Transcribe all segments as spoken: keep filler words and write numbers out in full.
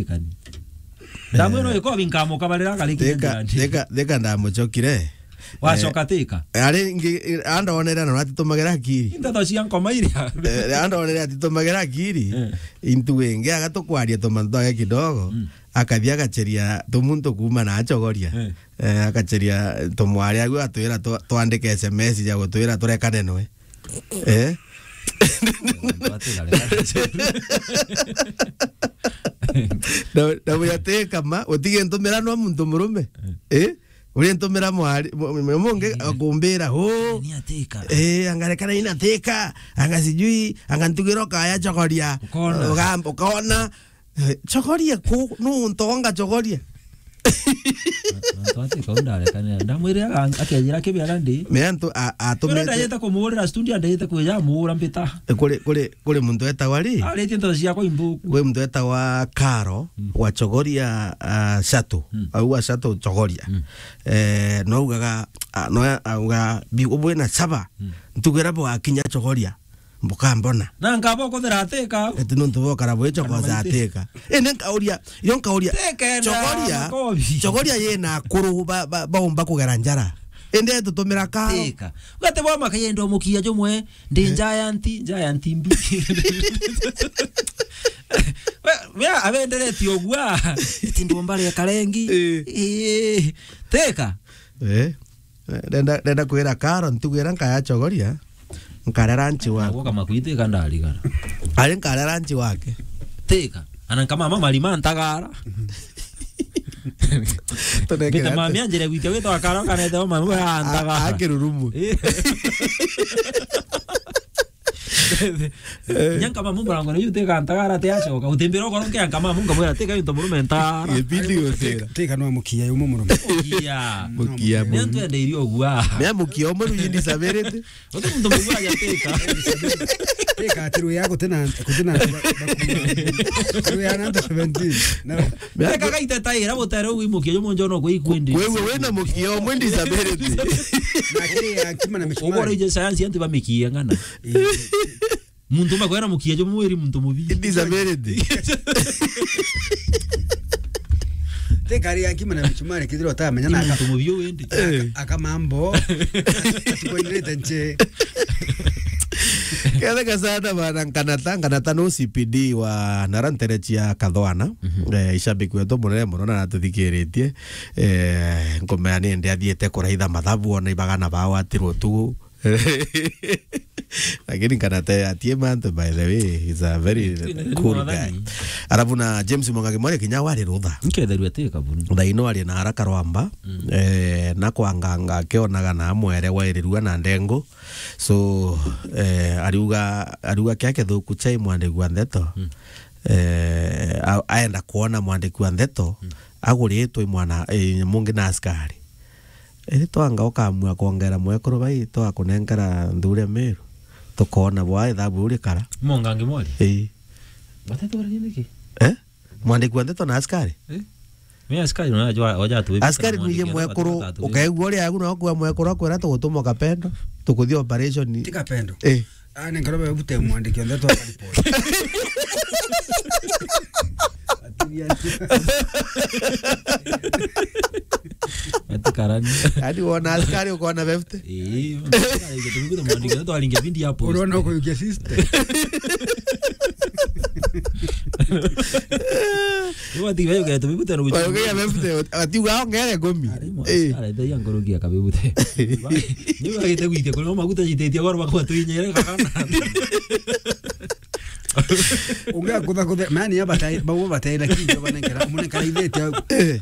Ikani. Ndamu ino iko binkamuka barira kari Thika, kinyanja. Thika, Thika ndamucokire. Wacoka Thika? Eh, ari ngi, andonere na atitumagira akiri. Ndeto cia nkoma iria. Eh, andonere atitumagira akiri. Eh. Intu wingi agatukwaria tumantu twake kidogo. Mm. Akathi agacheria tumuntu kuuma na achogoria. Eh. Eh, agacheria tumwari agu atwira twa-, twandike S M S ya gutwira turekane nwe. Eh? Na, na buya Thika ma, utige ntumira no muntu murume. Eh? Uri ntumira mwari, mu-, mu-, mungi akumbira, "Huu." Ni Thika. Eh, angarekana ina Thika, anga sijui, anga ntugira ukaya chogoria. Ukona. Uga-, ukona. Eh, chogoria ku, nuntu onga chogoria. Antu ati kau ndarekanira. Ndamwirira aga-, akejira kibi ara ndi. Me antu a-, atumite. Ndajite kumuurira studio, ndajite kwija muura mbita. Eh, kuri, kuri, kuri muntu etagwa ri? Aritie ndeto ciakwa inthuku. Kuri muntu etagwa Karo, mm, wa Chogoria, ah, Shuttle. Mm. Au wa Shuttle Chogoria. Mm. Eh, no augaga, ah, no auga, "Bi, ubwe na saba." Mm. Ntugira bwakinya Chogoria. Bukambona. Na nkaba ukuthira Thika. Ati nuntu bokara bwicho kwa za Thika. Indi nkauria, yo nkauria, Thika ina Chogoria, makobi. Chogoria yina akuru ba, ba, baumba kugera njara. Indi etutumira karo. Thika. Ugate bwa makayenda umukia jumwe, ndi giant, giant mbi. We, we abendereti ogua. Ati ndomba ria karengi. Eh. Eh. Thika. Eh. Ndenda, ndenda kwira Karo, ntugu iria nkaya Chogoria, nkarera nchi wake. Nagwo kama kwitwika ndarigara. Ari nkarera nchi wake. Thika. Ana nkama mama marima ntagara. Tunekera Mbita ate. Mami anjire gwitia gwitwa Karo, kanete mama we A-, a-, antagara. Akirurumu. Eh. Nyanka mamu murango riu Thika ntagara te acoka. Utimbira ukoro nkia nkama mamu nkamwira Thika into murume ntagara. Ibidi gutira. Thika no mukia yumu murume. Mukia. Mukia. Ni antu ende irio gua. Me mukia umwe ruji disability. Uti muntu mugua ya Thika. Thika ati ruya gutena, gutena. Ruya na seventeen. No. Thika gaite taira butere ugu imukia yumu njono gwe ikwendi. Wewe wena mukia umwe disability. Na kiri ya kima na misumari. Ugora ije sayansi antu bamikia ng'ana. Muntu makwera mukia jo mwiri muntu mubi. Disability. Te kari ya kima na misumari kithiro utamenya na muntu mubi wende. Eh. Akamambo. Atukwendete nche. Kethega sana bana Nkanata, Nkanata no C P D wa nara ntere cia Kathwana. Mhm. Eh, ishabiki wetu munene muno na natuthikiritie. Eh, nkumea ni ndi athiete kuraitha mathabu ona ibagana bao atirwo tu. Lakini Nkanata atie mantu, by the way, he's a very cool guy. Mwathani. Alafu na James Mwangangi Mwale kinya wari rutha. Nketherua ti kabuni. Thaino ari na haraka rwamba, mm, eh, na kwanganga akionaga na mwere wairirua na ndengu. So, eh, ariuga, ariuga kia kithuku chai mwandiki wa ndeto. Mm. Eh, a-, aenda kuona mwandiki wa ndeto, mm, aguritwe mwana, eh, mungi na askari. Iri twanga ukamua kwongera mwekuru bai, twakunenkera nthure Meru, tukoona bwa ithabu urikara. Mwangangi Mwale? Ii. Batetwara nini ki? Eh? Mwandiki wa ndeto na askari? Eh? Mi askari unajua, waja tu. Askari nije mwekuru, ukaigua uria agu na kwa mwekuru akwira tugutuma kapendo, tukuthi operation. Ti kapendo. Eh. Ah, ni nkaromba bute mwandiki wa ndeto akaripoti. Ati karani. Yaani wona askari ukoona fifty? Eh, mwandiki wa ndeto aringe bindi hapo. Unaona uko yukia system. Ni wati wewe ugeto bibute no. Kwa hiyo fifty, ati uga ongere ngumi. Ari mwa-, eh, askari ndio yangu rugia kabibute. Ni wagite gwitia kuri maguta nyititie goro bakwa twinyere kakana. Ungia kutha kutha, mani ya batai, bau batai na kinjo banenkera, munenkera ithete au. Eh.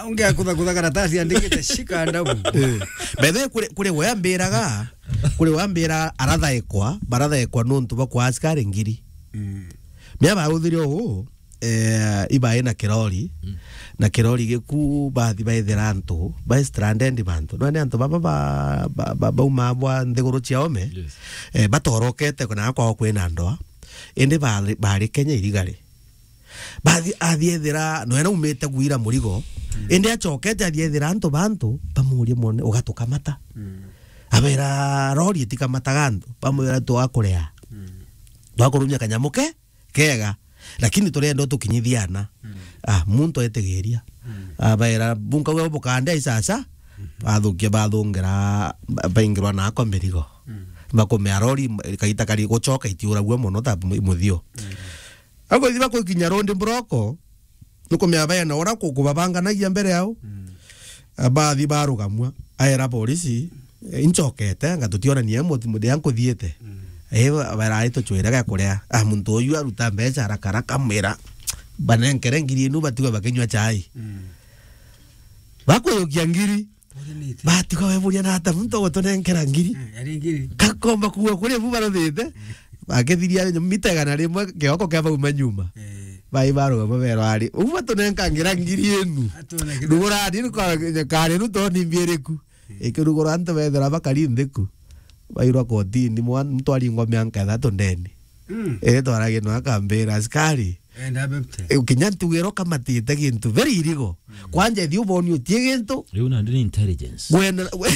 Ungia kutha kutha karatasi andikite shika ndabu. Eh. Bethe kuri, kuri wambiraga, kuri wambira arathaikwa, barathaikwa nuntu bakwa askari ngiri. Mm. Mia bauthirio uu, eh, ibae na kirori, mm, na kirori giku bathi baithira antu, ba stranded bantu. None antu baba ba, ba, ba, bauma bwa nthiguru cia ome, yes, eh, batorokete kuna kwao kwina ndoa. Indi bari, bari Kenya irigari. Bathi, athiethira, noe naumite gwira murigo. Mm. Indi acokete athiethira antu bantu, bamurie mone, ugatukamata. Mm. Abera, "Rori itikamataga antu." Bamwira, "Twakurea." Mm. Twakurumia kanyamu ke, kega. Lakini turenda utukinyithie ana. Mm. Ah, muntu etigiria. Mm. Abaira, "Bunka we bukande aicaca." Mhm. Bathukia, bathungira, ba-, baingirwa nako mirigo. Mm. Bakumea rori, kaita kari gucoka itiuragua mono ta mu-, muthio. Mm. Akoithi bakuikinya road block, nukumea baena ura ku-, kubabanganagia mbere yao. Mm. Abathi barugamua, aera polisi, "Eh, incokete, anga tutionania mu-, muthia nkuthiite." Mm. Eh, ba-, barai tucwire ga kuria. Ah, muntu uyu aruta mbeca haraka haraka, amwira, "Banenkere ngiri inu, batigwe bakinywa chai." Mm. Bakuyukia ngiri. Urinite. Batiga weburia na ata muntu ogotunenkera ngiri. Eh, yari ngiri. Kakomba kuua kuri bu baruthite. Bakithiria mita igana rimwe kioko kia bauma nyuma. Eh. Bai barugama berwa ari. Ubu batunenkangira ngiri inu. Atunenkangira. Ndugurani ni kwa kare nu toni mbieriku. Eh. Ikirugura antu bethira bakari nthiku. Bairwa kotini mwa-, muntu aringwa mianka ithatu ndeni. Mm. Eh, twaragia no akambira askari. Eh, ndabe mte. Eh, kinya ntugiro kamatite gintu very illegal. Mm. Kwanja ithi uboni utie gintu. Riu nandi ni intelligence. Wena, we-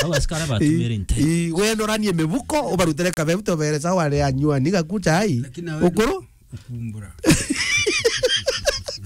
Au askari batumire intelligence. I, i, wena uranie mibuko, ubarutire kabebu tobere sawa ri anyuani gaku chai. Lakini nawe ukuru? Kumbura.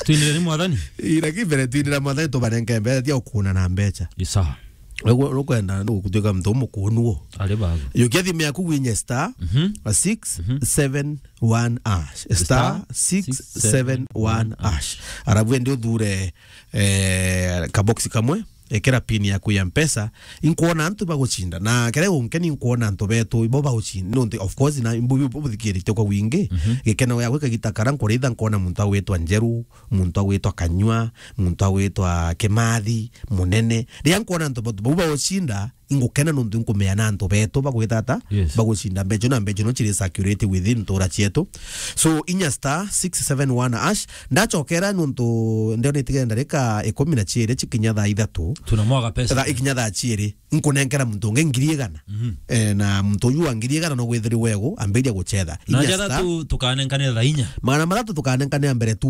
Twinire ni mwathani? I, lakini mbere twinira mwathani tubanenge mbeca, tia ukuna na mbeca. Isa. Rukwenda nukutuika muntu umukunuo. Ari bago. Yukia thimu yaku winye star, mhm, a six seven one hash. Star six seven one hash. Arabu ende uthure, eh, kaboksi kamwe, ekera pin yaku ya Mpesa, inkuona antu bagucinda. Na kere unke ni nkuona antu betu, ibo bagucinda. Nonte, of course, na imbu-, bu-, buthikirite kwa wingi. Mhm. Gikeno gya gwika gita kara nkuritha nkuona muntu agwitwa Njeru, muntu agwitwa Kanyua, muntu agwitwa Kimathi, Munene. Riria nkuona antu batu bau bagucinda, ingukena nontu nkumea na antu betu bagwita ata? Yes. Bagucinda mbeca na mbeca no ciri circulate within ntura cietu. So, inya star six seven one hash, ndachokera nontu ndionete ndarika ikumi na ciiri cikinya thaa ithatu. Tunamwaga pesa. Thaa, ikinya thaa ciiri, nkunenkera muntu ungi ngiri igana. Mhm. Eh, na muntu uyu wa ngiri igana no gwithiri wegu, ambiria gucetha. Na inya star. Jathatu tukanenkane thaa inya. Magana mathatu tukanenkane mbere tu